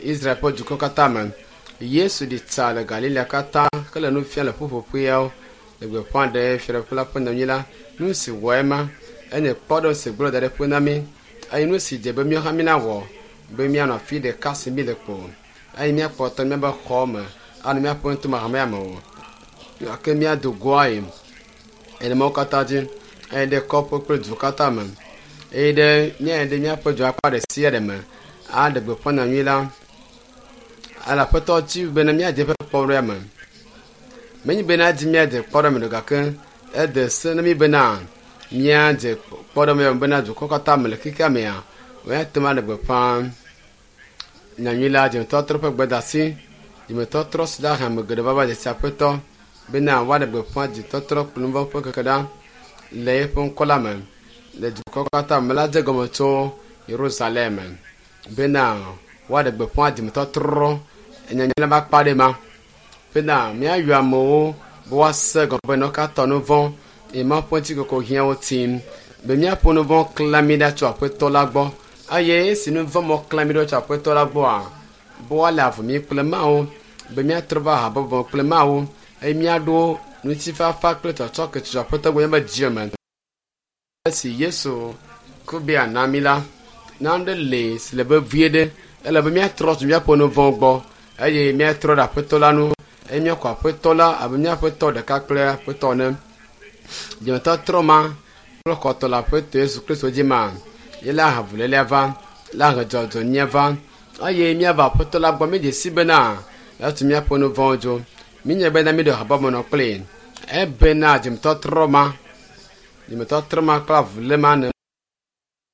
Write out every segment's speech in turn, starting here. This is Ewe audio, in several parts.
Israel ƒe dukɔ katã me. Yesu ɖi tsa le Galilea katã hele nu fiam le ƒuƒoƒeawo le gbeƒã ɖe Fiaɖuƒe la ƒe nyanyui la. Nu si wɔe ma enye kpɔɖeŋu si gblɔ da ɖe ƒe na mí eye nu si dze be míawo hã mínawɔ be míanɔ afi ɖeka si mí le kpo eye míakpɔtɔ míaƒe xɔ me anɔ míaƒe ŋutome hamea me o gake míado goa yi ene katã dzi eye ɖe kɔƒe kple du katã me eye ɖe míayi ɖe míaƒe du akpa ɖe sia ɖe me aɖe gbeƒã nyanyui la ele aƒetɔ dzi bena míadze eƒe kpɔɖea me menye bena dzi míadze kpɔɖea me do gake ede se na mí bena míadze kpɔɖea me bena dukɔ katã me le xexea mea woate ŋu aɖe gbeƒã nyanyui la dzimetɔtrɔ ƒe gbedasi dzimetɔtrɔ si la hame geɖe va va dzesi aƒetɔ bena woaɖe gbeƒã dzitɔtrɔ kple nu vɔ̃ ƒe keke ɖa le eƒe ŋkɔ la me le dukɔ katã me la dze gɔme tso Yerusalem bena woaɖe gbeƒã dzimetɔtrɔ nyanyui la va kpa ɖe ma bena míayɔ amewo be woase gɔme be ne katã nu vɔ̃ eye Mawu ƒe ŋutikɔkɔ hiã wo tim be míaƒe nu vɔ̃ klã mí ɖa tso aƒetɔ la gbɔ eye esi nu vɔ̃ mɔ klã mí ɖa tso aƒetɔ la gbɔa be woale avu mí kple Mawu be míatrɔ va habɔbɔ kple Mawu eye míaɖo ŋutifafa kple tsɔtsɔke tso aƒetɔ gbɔ míaƒe dzi me. Esi Yesu ku be yeana mí la, nane le si le vevie ɖe ele be míatrɔ tso míaƒe nu vɔ̃ gbɔ eye míatrɔ ɖe aƒetɔ la ŋu eye míaxɔ aƒetɔ la abe míaƒe tɔ ɖeka kple aƒetɔ ene. Dzimetɔtrɔ ma kple xɔtɔ le aƒetɔ Yesu Kristo dzi ma ye la he avulélia va, la he dzɔdzɔenyenye va eye míava aƒetɔ la gbɔ míedze si bena etu míaƒe nu vɔ̃wo dzo. Míenya bena míɖo habɔbɔ nɔ kplii ebena dzimetɔtrɔ ma dzimetɔtrɔ ma kple avulé ma ne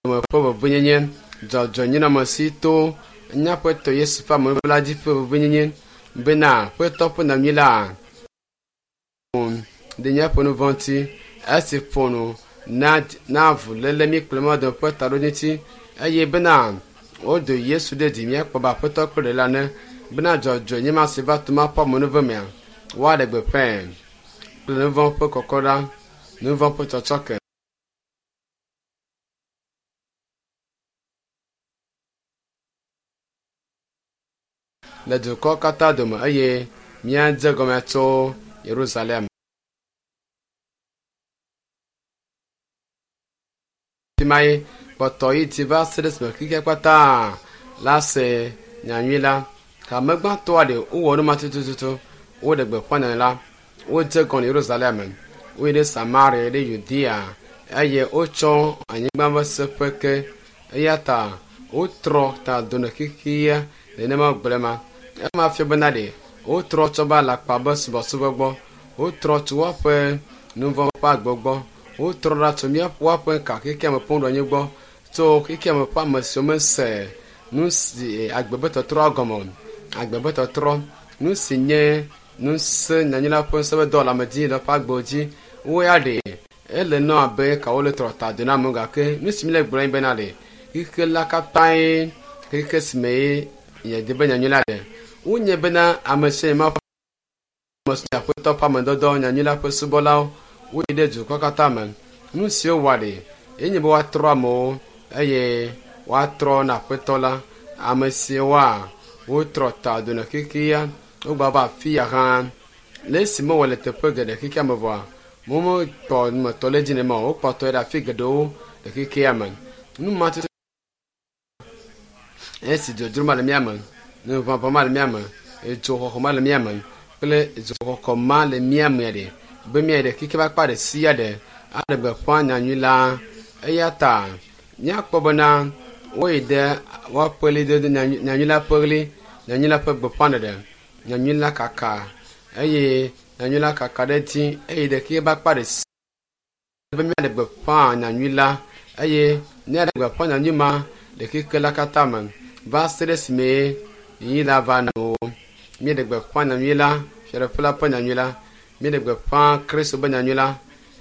me ƒe vevienyenye dzɔdzɔenyenɔamesi to míaƒe Yesu ƒe amenuveve la dzi ƒe vevienyenye bena aƒetɔ ƒe nyanyui la ɖe míaƒe nu vɔ̃ ŋuti esi ƒo nu na avuléle mí kple Mawu dome ƒe taɖodzinu ŋuti eye bena wodo Yesu ɖe dzi míakpɔ be aƒetɔ kple ɖela ene bena dzɔdzɔenyenye ma si va to Mawu ƒe amenuveve mea woaɖe gbeƒãe kple nu vɔ̃ ƒe kɔkɔɖa, nu vɔ̃ ƒe tsɔtsɔke. Le dukɔ katã dome eye míadze gɔme tso Yerusalem. Fi ma ye kpɔtɔ yi dzi va se ɖe esime xexea katã la se nyanyui la. Hame gbãtɔa ɖe wowɔ nu ma tututu. Woɖe gbeƒã nyanyui la. Wodze gɔme le Yerusalem. Woyi ɖe Samaria ɖe Yudea eye wotsɔ anyigba ƒe seƒe ke. Eya ta wotrɔ ta do ne xexea nenema gblẽ ma. Ema fia bena ɖe wotrɔ tsɔ be alakpa be subɔsubɔ gbɔ. Wotrɔ tso woaƒe nu vɔ̃ ƒe agbe gbɔ. Wotrɔ ɖa tso woaƒe ka xexea me ƒe nuɖoanyi gbɔ tso xexea me ƒe ame siwo mese nu si agbe ƒe tɔtrɔ gɔme o. Agbe ƒe tɔtrɔ nu si nye ŋusẽ nyanyui la ƒe ŋusẽ ƒe dɔwɔleamedzi le woƒe agbewo dzi. Wo ya ɖe ele nɔ abe ka wole trɔ ta do na amewo gake nu si míle gblɔm bena ɖe xexe la katãe xexe si me ye yeadi be nyanyui la ɖe. Wonye bena ame sia ame ame si aƒetɔ ƒe amedɔdɔ nyanyui la ƒe subɔlawo woyi ɖe dukɔ katã me. Nu siwo wɔa ɖe yenye be woatrɔ amewo eye woatrɔ na aƒetɔ la. Ame siwoa wotrɔ ta do na xexea wogba va afi ya hã. Le esi mewɔ le teƒe geɖe xexea me vɔa womekpɔ numetɔ le dzi nema o wokpɔtɔ ɖe afi geɖewo le xexea me. Nu ma tutu esi dzodzro ma le mía me, nuʋaʋã ma le mía me, dzoxɔxɔ ma le mía me kple dzoxɔxɔ ma le mía me ɖe be míayi ɖe xexea ƒe akpa ɖe sia ɖe aɖe gbeƒã nyanyui la. Eya ta míakpɔ bena woyi ɖe woaƒe ɣlidodo nyanyui la ƒe ɣli, nyanyui la ƒe gbeƒãɖeɖe, nyanyui la kaka eye nyanyui la kaka ɖe edzi eye ɖe xexea ƒe akpa ɖe sia be míaɖe gbeƒã nyanyui la eye míaɖe gbeƒã nyanyui ma le xexe la katã me va se ɖe esime ɣeyiɣi la va nɔ wo. Míeɖe gbeƒã nyanyui la, Fiaɖuƒe la ƒe nyanyui la. Míeɖe gbeƒã Kristo ƒe nyanyui la.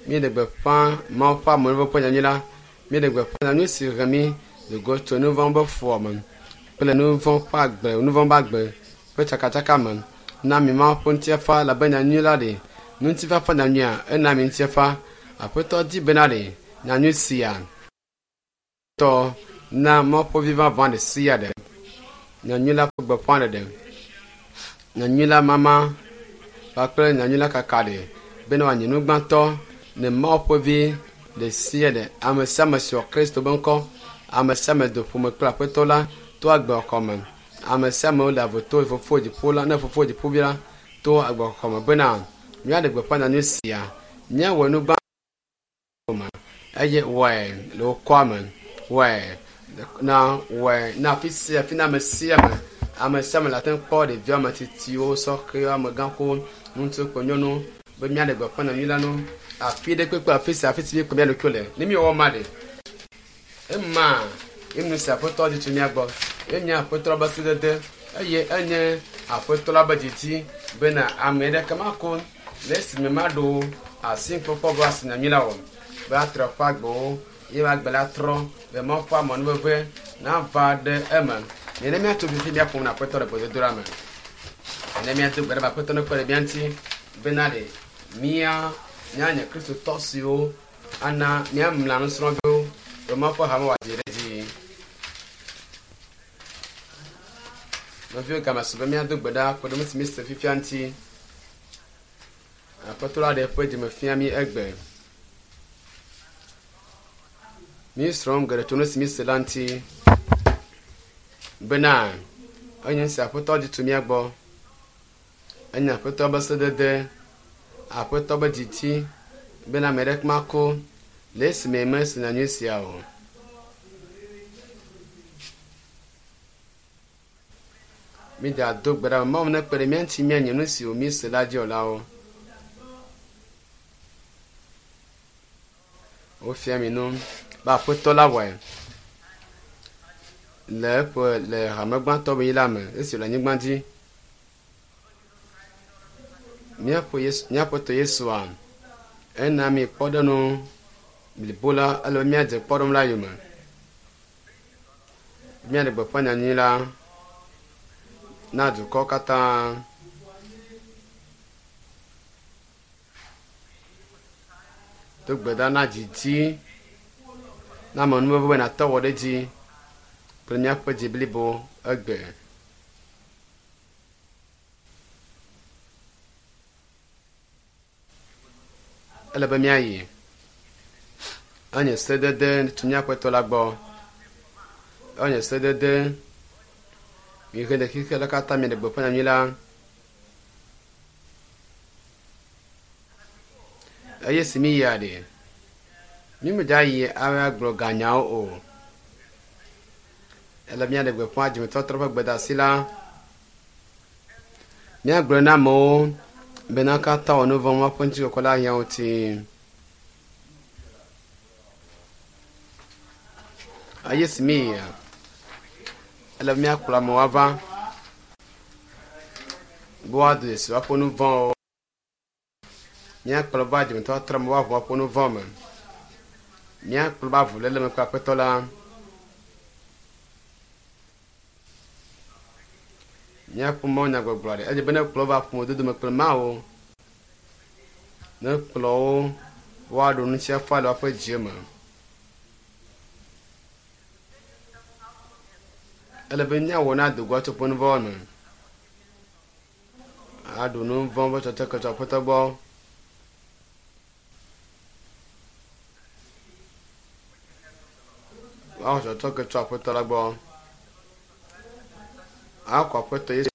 Míeɖe gbeƒã Mawu ƒe amenuveve ƒe nyanyui la. Míeɖe gbeƒã nyanyui si he mí do go tso nu vɔ̃ ƒe fuwɔame kple nu vɔ̃ ƒe agbe, nu vɔ̃ ƒe agbe ƒe tsakatsaka me. Na mi Mawu ƒe ŋutifafa elabe nyanyui la ɖe ŋutifafa nyanyuia ena mi ŋutifafa. Aƒetɔ di bena ɖe nyanyui sia tɔ na Mawu ƒe vi vavã ɖe sia ɖe. Nyanyui la ƒe gbeƒãɖeɖe, nyanyui la mama kpakple nyanyui la kaka ɖe bena wòanye nu gbãtɔ ne Mawu ƒe vi ɖe sia ɖe, ame sia ame si xɔ Kristo be ŋkɔ, ame sia ame do ƒome kple Aƒetɔ la to agbexɔxɔ me. Ame sia ame wole avo to Fofo dziƒo la, ne Fofo dziƒovi la to agbexɔxɔ me bena míaɖe gbeƒã nyanyui sia, míawɔ nu gbã me eye wɔe le wokɔa me, wɔe na wɔe na afi sia afi na ame sia ame. Ame sia ame le ate ŋu kpɔ ɖeviwo, ame tsitsiwo, sɔhɛwo, amegãxowo, ŋutsu kple nyɔnuwo be míaɖe gbeƒã nyanyui la nu afi ɖe kpekpe afi sia afi si míekpɔ mía ɖokuiwo le. Ne míewɔ ma ɖe, ema ye nu si Aƒetɔ di tso mía gbɔ. Enye Aƒetɔ la be sedede eye enye Aƒetɔ la be didi bena ame ɖeke mako le esime maɖo asi kpɔkpɔ be asi nyanyui la o. Be atrɔ eƒe agbewo ye agbe la trɔ be Mawu ƒe amenuveve nava ɖe eme. Nene míatso fifi míaƒo nu na Aƒetɔ le gbedodoɖa me. Nene míado gbe ɖa be Aƒetɔ nekpe ɖe mía ŋuti bena ɖe mía míanye Kristotɔ siwo ana míamla nusrɔ̃viwo be Mawu ƒe hame wòadzi ɖe edzi. Nɔviwo game su be míado gbe ɖa kpe ɖe nu si míese fifia ŋuti. Aƒetɔ la ɖe eƒe dzime fia mí egbe. Míesrɔ̃ geɖe tso nu si míese la ŋuti bena enye nu si Aƒetɔ di tso mía gbɔ. Enye Aƒetɔ be sedede, Aƒetɔ be didi bena ame ɖeke mako le esime mese nyanyui sia o. Mída do gbe ɖa be Mawu nekpe ɖe mía ŋuti míanye nu siwo míese la dzi wɔlawo. Wofia mi nu be Aƒetɔ la wɔe le eƒe le hame gbãtɔ be yi la me esi wòle anyigba dzi. Míaƒe Yesu, míaƒetɔ Yesua ena mi kpɔɖeŋu blibo la ele be míadze kpɔɖeŋu la yome. Míaɖe gbeƒã nyanyui la na dukɔ katã. Do gbe ɖa na dzidzi na amenuveve be nàte wɔ ɖe edzi kple míaƒe dzi blibo egbe. Ele be míayi. Enye sedede tso míaƒe la gbɔ. Enye sedede mihe ɖe xexe la katã miɖe gbeƒã nyanyui la. Eye si míyia ɖe, mímedza yi ava gblɔ ganyawo o. Ele míaɖe gbeƒã dzimetɔtrɔ ƒe gbedeasi la. Míagblɔe na amewo bena katã wɔ nu vɔ̃ woaƒe ŋutikɔkɔ la hiã wo ti. Eye si míyia, ele be míakplɔ amewo ava be woado dzesi woaƒe nu vɔ̃wo. Míakplɔ va dzimetɔtrɔ me woaʋu woaƒe nu vɔ̃ me. Míakplɔ va avuléle me kple Aƒetɔ la. Míaƒe mawunyagbɔgblɔ ɖe edze be ne kplɔ va ƒomedodo me kple Mawu. Ne kplɔ wo woaɖo nufiafia le woaƒe dzi me. Ele be míawɔ na dogoa tso ƒe nu vɔ̃ me. Aɖu nu vɔ̃ ƒe tsɔtsɔke tso Aƒetɔ gbɔ. Woaxɔ tsɔtsɔke tso Aƒetɔ la gbɔ. Akɔ Aƒetɔ Yesu.